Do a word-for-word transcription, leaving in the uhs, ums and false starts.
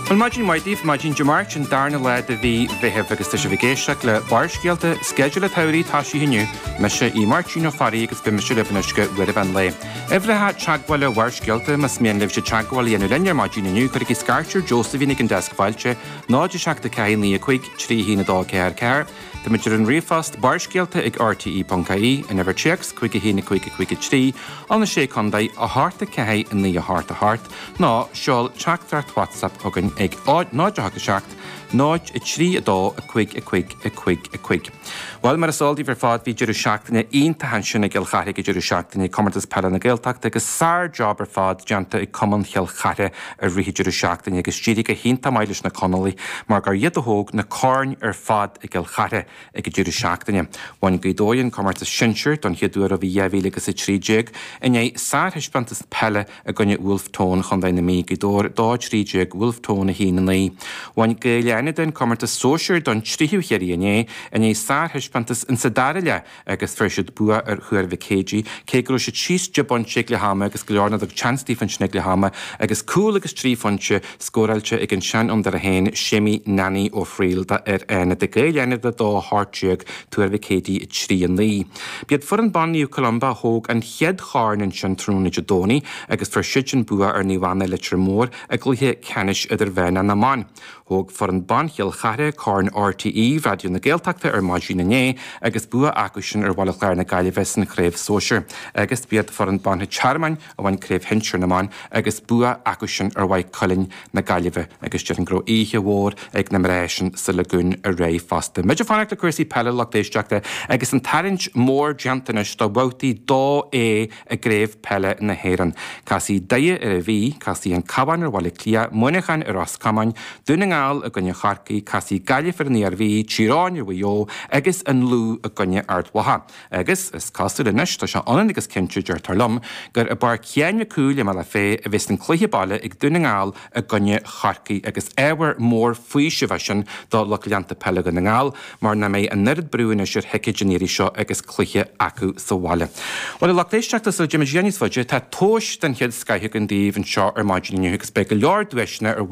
Bhuel maidin mhaith daoibh, maidin Dé Máirt an darna lá de mhí Mheithimh agus tá sibh ag éisteacht le Barrscéalta, sceideal an tsamhraidh toisithe inniu, mise í Máirtín Ó Fearraigh agus beidh mise libh anois go uair an mheán lae. Uimhreacha teagmhála Bharrscéalta más mian libhse teagmháil a dhéanamh linn ar maidin inniu, cuirigí scairt ar Josephine ag an deasc fáilte, náid a seacht a ceathair naoi a cúig trí haon a dó ceathair ceathair. Táimid ar an ríomhphost barrscéalta ag rte.ie, an uimhir téacs cúig a haon a cúig a cúig a trí, an a sé contae a hocht a ceathair a naoi a hocht a hocht, nó seol teachtaireacht WhatsApp chugainn ag náid a hocht a seacht, náid a trí a dó a cúig a cúig a cúig a cúig. Bhuel mar is eol daoibh ar fad bhí deireadh seachtaine iontach ansin i gCill Charthaigh ag deireadh seachtaine comórtas peile na Gaeltachta agus sár-job ar fad déanta ag Cumann Chill Charthaigh i rith an deireadh seachtaine agus d'éirigh go hiontach maith leis na Conallaigh mar gur iad a thóg na coirn ar fad i gCill Charthaigh ag an deireadh seachtaine. Bhain Gaoth Dobhair an comórtas sinsir don chéad uair ó bhí dhá mhíle agus a trí déag i ndiaidh sárthaispeántas peile i gcoinne Wolfe Tone Chontae na Mí, Gaoth Dobhair dó a trí déag, Wolfe Tone a haon a naoi. Bhain Gaeil Fhánada an comórtas sóisir don tríú huair inné i ndiaidh sárthaispeántas in sa dara leath agus fuair siad bua ar Thuar Mhic Éadaigh cé go raibh siad síos deich bpointe ag leath ama agus go leor nach dtug seans daofa ansin ag leath ama agus cúl agus trí phointe scóráilte ag an seanfhondúir féin Séimí Nanny Ó Frighil d'fhir Fhánada Gaeil Fhánada dó a hocht déag Tuar Mhic Éadaigh trí a naoi. B'iad foireann ban Naomh Columba a thóg an chéad chorn ansin tráthnóna Dé Domhnaigh agus fuair siad an bua ar Naomh Anna Leitir Móir i gcluiche ceannais idirmheánach na mban. Thóg foireann ban Chill Charthaigh corn RTÉ Raidió na Gaeltachta ar maidin inné agus bua acu sin ar Bhaile Chláir na Gaillimhe san chraobh sóisir. Agus b'iad foireann ban an Tearmainn a bhain craobh shinsir na mban agus bua acu sin ar Mhaigh Cuilinn na Gaillimhe agus déarfainn go raibh oíche mhór ag na mná sin sa Lagún aréir fosta. Muid ag fanacht le cúrsaí peile lucht éisteachta agus an tarraingt mór déanta anois do bhabhtaí dó A i gcraobh peile na hÉireann. Casfaidh Doire ar an Mhí, casfaidh an Cabhán ar Bhaile Átha Cliath, Muineachán ar Ros Comáin, Dún na nGall i gcoinne Chorcaí, casfaidh Gaillimh ar an Iarmhí, Tír Eoghain ar Mhaigh Eo agus an Lú i gcoinne Ard Mhacha. Agus is cosúil anois tá sé ionann agus cinnte deirtear liom gur i bPáirc Sheáin Mhic Cumhaill i mBealach Féich a bheas an cluiche baile ag Dún na nGall i gcoinne Chorcaí agus ábhar mór faoisimh é sin do lucht leanta peile Dhún na nGall mar nach mbeidh an oiread brú anois ar thicéid an iarraidh seo agus cluiche acu sa bhaile. Bhuel a lucht éisteachta sula dtéimid níos faide tá tomhais den chéad scoth againn daoibh anseo ar maidin inniu agus beidh go leor duaiseanna ar